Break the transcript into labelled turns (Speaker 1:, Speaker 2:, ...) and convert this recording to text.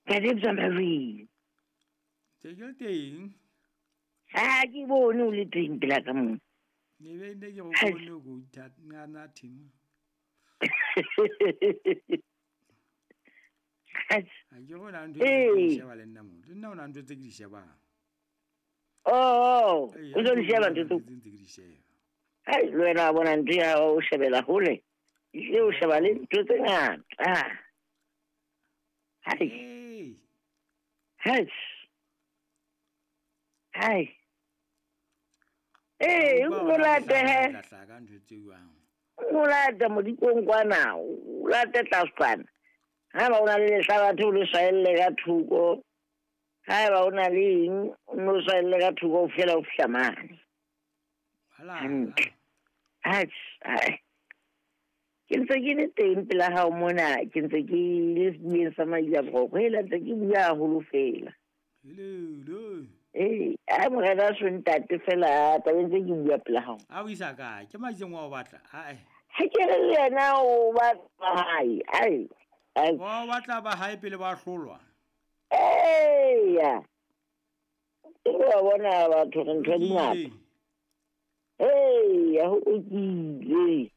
Speaker 1: Ntate Mzwamawini.
Speaker 2: Ntse ke le teng.
Speaker 1: Ha ke bone o le teng pela ka mona.
Speaker 2: Ne be ne ke go bone go ngana thimo. Ha ke go na ntho e ke sheba le nna mo. Le nna o na ntho tse ke di shebang.
Speaker 1: Oh, o ntse di sheba ntho
Speaker 2: tse ke di sheba.
Speaker 1: Hai, le wena wa bona ntho ya o shebela hole. E o sheba le ntho tse ngata. Hai. Hai. Hai. Ee, o late he. O late modikong kwana, o late tlase kwana. Ha ba o na le lehlabathe o le swaelle ka thoko. Ha ba o na le eng, o no swaelle ka thoko o fihlela o fihla mane. Hantle. Atjhe, ke ntse ke le teng pela hao mona, ke ntse ke le sebueng sa Maila Boroko. Hela ntse ke bua haholo fela. Ee, a morena so ntate fela tabeng tse ke bua pela hao.
Speaker 2: A o isa kae? Ke maitseng wa o batla. Ae.
Speaker 1: Ha ke re le yena o batla hae. Ai.
Speaker 2: Ai. Wa o batla ba hae pele ba hlolwa.
Speaker 1: Eya. Ke wa bona batho re ntho di ngata. Eya, ho lokile.